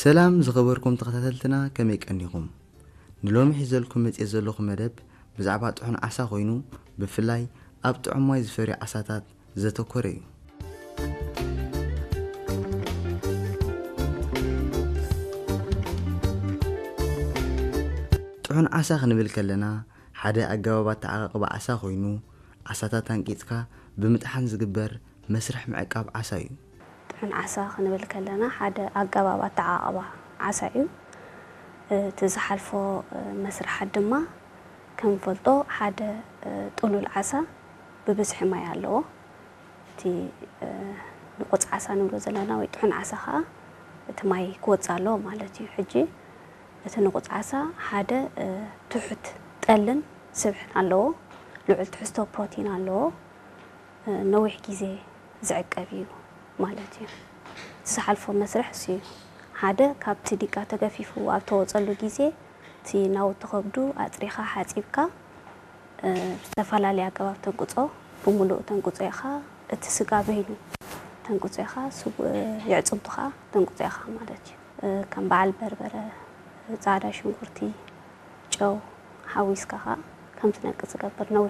ሰላም ዝኸበርኩም ተኸታተልትና፣ ከመይ ቀኒኹም? ንሎሚ ሒዘልኩም መጽየ ዘለኹ መደብ ብዛዕባ ጥሑን ዓሳ ኮይኑ፣ ብፍላይ ኣብ ጥዑም ማይ ዝፈርዩ ዓሳታት ዘተኮረ እዩ። ጥሑን ዓሳ ክንብል ከለና፣ ሓደ ኣገባብ ኣተዓቃቅባ ዓሳ ኮይኑ፣ ዓሳታት ኣንቂጽካ ብምጥሓን ዝግበር መስርሕ ምዕቃብ ዓሳ እዩ። ጥሑን ዓሳ ክንብል ከለና፣ ሓደ ኣገባብ ኣተዓቃቅባ ዓሳ እዩ። እቲ ዝሓልፎ መስርሓት ድማ፣ ከም ንፈልጦ፣ ሓደ ጥሉል ዓሳ ብብዝሒ ማይ ኣለዎ። እቲ ንቁጽ ዓሳ ንብሎ ዘለና ወይ ጥሑን ዓሳ ከዓ፣ እቲ ማይ ክወጽእ ኣለዎ ማለት እዩ። ሕጂ እቲ ንቁጽ ዓሳ ሓደ ትሑት ጠልን ስብሕን ኣለዎ፣ ልዑል ትሕዝቶ ፕሮቲን ኣለዎ፣ ነዊሕ ግዜ ዝዕቀብ እዩ ማለት እዩ። እቲ ዝሓልፎ መስርሕ እሱ እዩ። ሓደ ካብቲ ዲቃ ተገፊፉ ኣብ ተወጸሉ ግዜ፣ እቲ ናውቲ ከብዱ ኣጽሪኻ ሓጺብካ፣ ብዝተፈላለየ ኣገባብ ተንቅጾ፣ ብምሉእ ተንቅጾ ኢኻ፣ እቲ ስጋ በይኑ ተንቅጾ ኢኻ፣ ስጉ-፣ የዕጽምቱ ኸዓ ተንቅጾ ኢኻ ማለት እዩ። ከም በዓል በርበረ፣ ጻዕዳ ሽንኩርቲ፣ ጨው ሓዊስካ ኸዓ ከም ትነቅጽ ዝገብር ነዊሕ